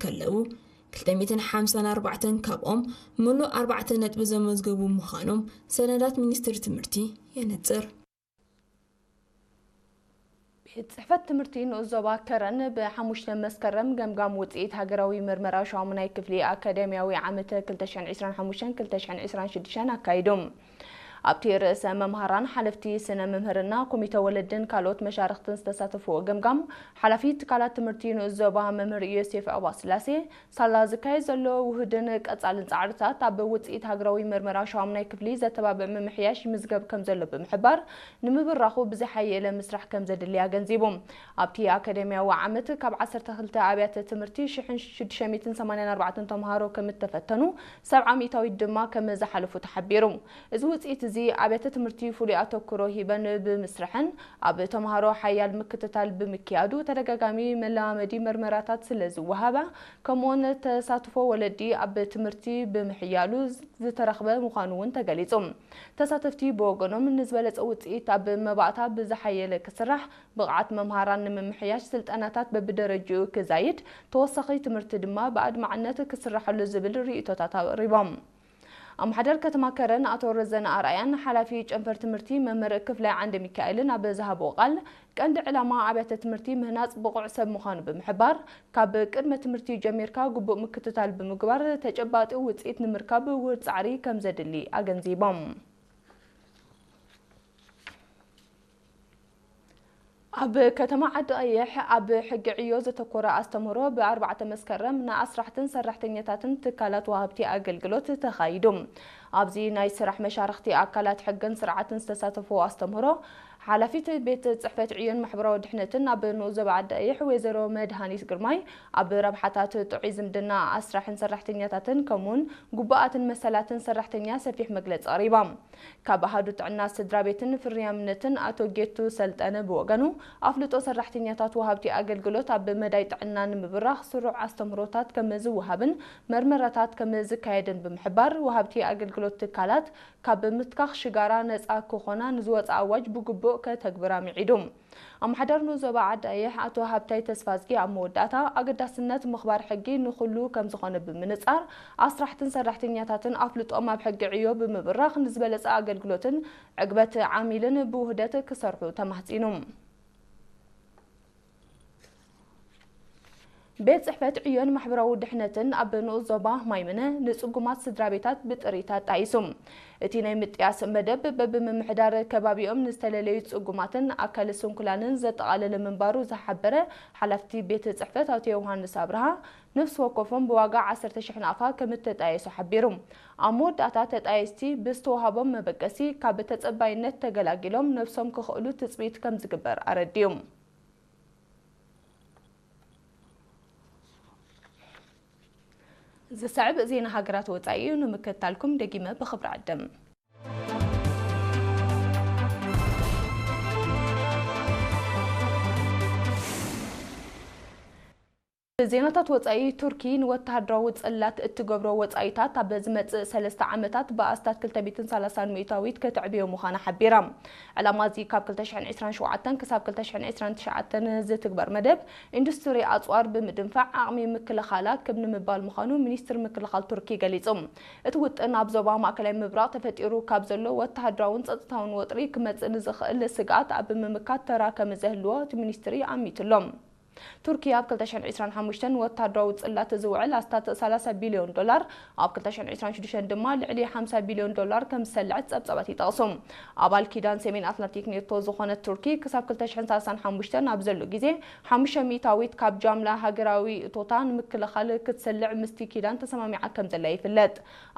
ከለዉ፣ ክልተ ሚእትን ሓምሳን ኣርባዕተን ካብኦም ምሉእ ኣርባዕተ ነጥቢ ዘመዝገቡ ምዃኖም ሰነዳት ሚኒስትሪ ትምህርቲ የነጽር። ቤት ጽሕፈት ትምህርቲ ንኡስ ዞባ ከረን ብሓሙሽተ መስከረም ገምጋም ውጽኢት ሃገራዊ ምርመራ ሻሙናይ ክፍሊ ኣካዳሚያዊ ዓመት ክልተ ሽሕን ዕስራን ሓሙሽተን ክልተ ሽሕን ዕስራን ሽዱሽተን ኣካይዱ። ኣብቲ ርእሰ መምሃራን ሓለፍቲ ስነ መምህርና ኮሚተ ወለድን ካልኦት መሻርኽትን ዝተሳተፍዎ ገምጋም፣ ሓላፊ ትካላት ትምህርቲ ንኡስ ዞባ መምህር ዮሴፍ ዕቑባስላሴ፣ ሳላ ዝካየድ ዘሎ ውሁድን ቀጻልን ጻዕርታት ኣብ ውጽኢት ሃገራዊ መርመራ ሻሙናይ ክፍሊ ዘተባብዕ ምምሕያሽ ይምዝገብ ከም ዘሎ ብምሕባር፣ ንምብራኹ ብዝሓየለ ምስራሕ ከም ዘድሊ ኣገንዚቡ። ኣብቲ ኣካዳሚያዊ ዓመት ካብ ዓሰርተ ክልተ ኣብያተ ትምህርቲ ሽሕን ሽዱሽተ ሚእትን ሰማንያን ኣርባዕተን ተምሃሮ ከም እተፈተኑ፣ ሰብዓ ሚእታዊት ድማ ከም ዝሓለፉ ተሓቢሩ። እዚ ውጽኢት እዚ ኣብያተ ትምህርቲ ፍሉይ ኣተኩሮ ሂበን ብምስርሐን ኣብ ተምሃሮ ሓያል ምክትታል ብምክያዱ ተደጋጋሚ መለማመዲ መርመራታት ስለ ዝወሃባ፣ ከምኡውን ተሳትፎ ወለዲ ኣብ ትምህርቲ ብምሕያሉ ዝተረኽበ ምዃኑ እውን ተገሊጹ። ተሳተፍቲ ብወገኖም ንዝበለጸ ውጽኢት ኣብ መባእታ ብዝሓየለ ክስራሕ፣ ብቕዓት መምሃራን ንምምሕያሽ ስልጠናታት በብደረጅኡ ክዛይድ፣ ተወሳኺ ትምህርቲ ድማ ብኣድማዕነት ክስራሐሉ ዝብል ርእይቶታት ኣቕሪቦም። ኣምሓደር ከተማ ከረን ኣቶ ረዘነ ኣርኣያን ሓላፊ ጨንፈር ትምህርቲ መምህር ክፍላይ ዓንደ ሚካኤልን ኣብ ዝሃብዎ ቃል፣ ቀንዲ ዕላማ ኣብያተ ትምህርቲ ምህናጽ ብቑዕ ሰብ ምዃኑ ብምሕባር፣ ካብ ቅድመ ትምህርቲ ጀሚርካ ግቡእ ምክትታል ብምግባር ተጨባጢ ውጽኢት ንምርካብ ውሁድ ጻዕሪ ከም ዘድሊ ኣገንዚቦም። ኣብ ከተማ ዓዲ ቀይሕ ኣብ ሕጊ ዕዮ ዘተኮረ ኣስተምህሮ ብኣርባዕተ መስከረም ንኣስራሕትን ሰራሕተኛታትን ትካላት ወሃብቲ ኣገልግሎት ተኻይዱ። ኣብዚ ናይ ስራሕ መሻርኽቲ ኣካላት ሕግን ስርዓትን ዝተሳተፍዎ ኣስተምህሮ፣ ሓላፊት ቤት ጽሕፈት ዕዮን ማሕበራዊ ድሕነትን ኣብ ንኡስ ዞባ ዓዲ ቀይሕ ወይዘሮ መድሃኒት ግርማይ፣ ኣብ ረብሓታት ጥዑይ ዝምድና ኣስራሕን ሰራሕተኛታትን ከምኡውን ግቡኣትን መሰላትን ሰራሕተኛ ሰፊሕ መግለጺ ኣቕሪባ። ካብ ኣሃዱ ጥዕና ስድራ ቤትን ፍርያምነትን ኣቶ ጌቱ ሰልጠነ ብወገኑ፣ ኣፍልጦ ሰራሕተኛታት ወሃብቲ ኣገልግሎት ኣብ መዳይ ጥዕና ንምብራኽ ስሩዕ ኣስተምህሮታት ከም ዝወሃብን መርመራታት ከም ዝካየድን ብምሕባር፣ ወሃብቲ ኣገልግሎት ትካላት ካብ ምትካኽ ሽጋራ ነጻ ክኾና ንዝወጸ ኣዋጅ ብግቡእ ከተግብራ ምዒዱ። ኣምሓዳር ንኡስ ዞባ ዓዲ ቀይሕ ኣቶ ሃብታይ ተስፋዝጊ ኣብ መወዳእታ፣ ኣገዳስነት ምኽባር ሕጊ ንኹሉ ከም ዝኾነ ብምንጻር፣ ኣስራሕትን ሰራሕተኛታትን ኣፍልጦም ኣብ ሕጊ ዕዮ ብምብራኽ ንዝበለጸ ኣገልግሎትን ዕግበት ዓሚልን ብውህደት ክሰርሑ ተማህጺኑ። ቤት ጽሕፈት ዕዮን ማሕበራዊ ድሕነትን ኣብ ንኡስ ዞባ ማይምነ ንጽጉማት ስድራ ቤታት ብጥሪት ኣጣይሱ። እቲ ናይ ምጥያስ መደብ በብምምሕዳር ከባቢኦም ንዝተለለዩ ጽጉማትን ኣካል ስንኩላንን ዘጠቓለለ ምንባሩ ዝሓበረ ሓላፍቲ ቤት ጽሕፈት ኣቶ ዮሃንስ ኣብርሃ፣ ነፍሲ ወከፎም ብዋጋ ዓሰርተ ሽሕ ናቕፋ ከም እተጣየሱ ሓቢሩ። ኣብ መወዳእታ ተጣየስቲ ብዝተዋህቦም መበገሲ ካብ ተጸባይነት ተገላጊሎም ነብሶም ክኽእሉ ትጽቢት ከም ዝግበር ኣረዲኡ። ዝስዕብ ዜና ሃገራት ወጻኢ እዩ። ንምክትታልኩም ደጊመ ብኽብሪ ዕድም። ዜናታት ወጻኢ፣ ቱርኪ ንወተሃደራዊ ጽላት እትገብሮ ወጻኢታት ኣብ ዝመጽእ ሰለስተ ዓመታት ብኣስታት ክልተ ሚእትን ሰላሳን ሚእታዊት ከተዕብዮ ምዃና ሓቢራ። ዕላማ እዚ ካብ ክልተ ሽሕን ዕስራን ሸውዓተን ክሳብ ክልተ ሽሕን ዕስራን ትሽዓተን ዝትግበር መደብ ኢንዱስትሪ ኣጽዋር ብምድንፋዕ ዓቕሚ ምክልኻላ ክብ ንምባል ምዃኑ ሚኒስትሪ ምክልኻል ቱርኪ ገሊጹ። እቲ ውጥን ኣብ ዞባ ማእከላይ ምብራቕ ተፈጢሩ ካብ ዘሎ ወተሃደራውን ጸጥታውን ወጥሪ ክመጽእ ንዝኽእል ስግኣት ኣብ ምምካት ተራ ከም ዘህልዎ እቲ ሚኒስትሪ ኣሚቱሎም። ቱርኪ ኣብ ክልተ ሽሕን ዕስራን ሓሙሽተን ወተሃደራዊ ጽላት ዝውዕል ኣስታት ሰላሳ ቢልዮን ዶላር፣ ኣብ ክልተ ሽሕን ዕስራን ሽዱሽተን ድማ ልዕሊ ሓምሳ ቢልዮን ዶላር ከም ዝሰልዐት ጸብጻባት ይጠቕሱ። ኣባል ኪዳን ሰሜን ኣትላንቲክ ኔቶ ዝኾነት ቱርኪ ክሳብ ክልተ ሽሕን ሰላሳን ሓሙሽተን ኣብ ዘሎ ግዜ፣ ሓሙሽተ ሚእታዊት ካብ ጃምላ ሃገራዊ እቶታ ንምክልኻል ክትሰልዕ ምስቲ ኪዳን ተሰማሚዓ ከም ዘላ ይፍለጥ።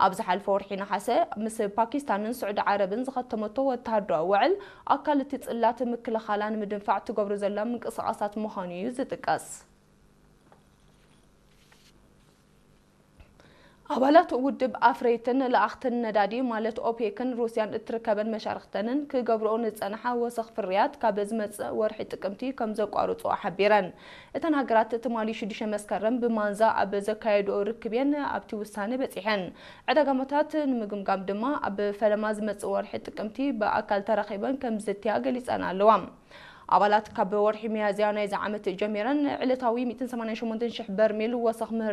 ኣብ ዝሓለፈ ወርሒ ነሓሰ ምስ ፓኪስታንን ስዑዲ ዓረብን ዝኸተመቶ ወተሃደራዊ ውዕል፣ ኣካል እቲ ጽላት ምክልኻላ ንምድንፋዕ ትገብሮ ዘላ ምንቅስቓሳት ምዃኑ እዩ ዝጥቀስ። ኣባላት ውድብ ኣፍረይትን ለኣኽትን ነዳዲ ማለት ኦፔክን ሩስያን እትርከበን መሻርኽተንን ክገብርኦ ዝጸንሓ ወሰኽ ፍርያት ካብ ዝመጽእ ወርሒ ጥቅምቲ ከም ዘቋርጾ ሓቢረን። እተን ሃገራት ትማሊ ሽዱሽተ መስከረም ብማንዛ ኣብ ዘካየድኦ ርክብ እየን ኣብቲ ውሳነ በጺሐን። ዕዳጋታት ንምግምጋም ድማ ኣብ ፈለማ ዝመጽእ ወርሒ ጥቅምቲ ብኣካል ተራኺበን ከም ዝዝትያ ገሊጸን ኣለዋ። ኣባላት ካብ ወርሒ ሚያዝያ ናይዚ ዓመት ጀሚረን ዕለታዊ ሚእትን ሰማንያን ሸሞንተን ሽሕ በርሜል ወሰኽ ምህር